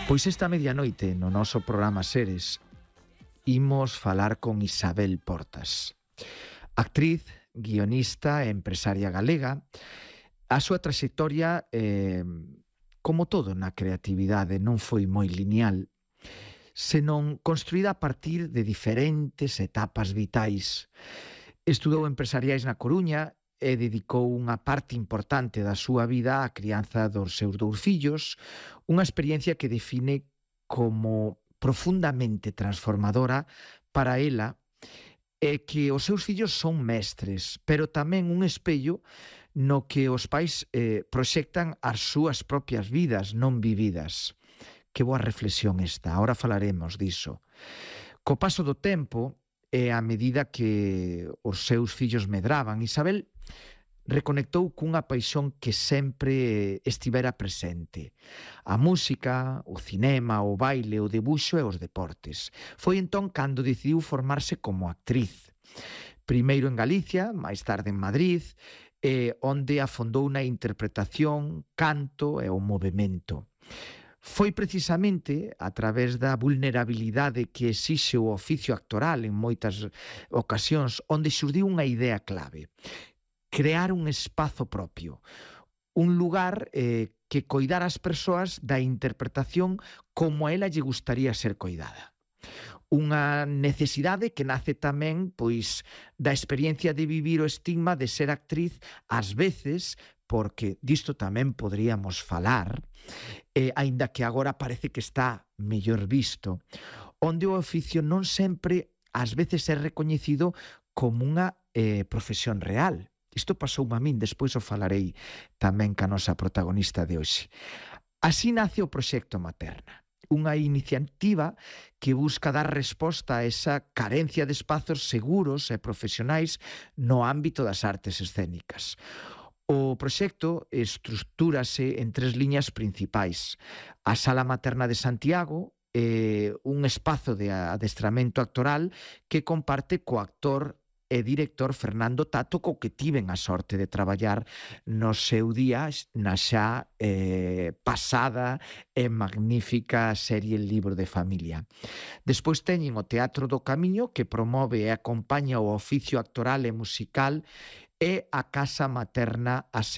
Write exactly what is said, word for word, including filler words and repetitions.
Pois esta medianoite no noso programa Seres imos falar con Isabel Portas, actriz, guionista e empresaria galega. A súa traxectoria, eh, como todo na creatividade, non foi moi lineal, senón construída a partir de diferentes etapas vitais. Estudou empresariais na Coruña e dedicou unha parte importante da súa vida á crianza dos seus dous fillos, unha experiencia que define como profundamente transformadora para ela, e que os seus fillos son mestres, pero tamén un espello no que os pais eh, proxectan as súas propias vidas non vividas. Que boa reflexión esta, ahora falaremos diso. Co paso do tempo, e a medida que os seus fillos medraban, Isabel reconectou cunha paixón que sempre estivera presente: a música, o cinema, o baile, o debuxo e os deportes. Foi entón cando decidiu formarse como actriz. Primeiro en Galicia, máis tarde en Madrid, eh, onde afondou na interpretación, canto e o movemento. Foi precisamente a través da vulnerabilidade que exixe o oficio actoral en moitas ocasións onde xurdiu unha idea clave: crear un espazo propio, un lugar eh, que coidara as persoas da interpretación como a ela lle gustaría ser coidada. Unha necesidade que nace tamén pois da experiencia de vivir o estigma de ser actriz, ás veces, porque disto tamén poderíamos falar, eh, aínda que agora parece que está mellor visto, onde o oficio non sempre ás veces é recoñecido como unha eh, profesión real. Isto pasou a min, despois o falarei tamén ca nosa protagonista de hoxe. Así nace o Proxecto Materna, unha iniciativa que busca dar resposta a esa carencia de espazos seguros e profesionais no ámbito das artes escénicas. O proxecto estrutúrase en tres liñas principais: a Sala Materna de Santiago, eh, un espazo de adestramento actoral que comparte co actor e director Fernando Tato, co que tiven a sorte de traballar no seu día na xa eh, pasada e magnífica serie El Libro de Familia. Despois teñen o Teatro do Camiño, que promove e acompaña o oficio actoral e musical, e a Casa Materna a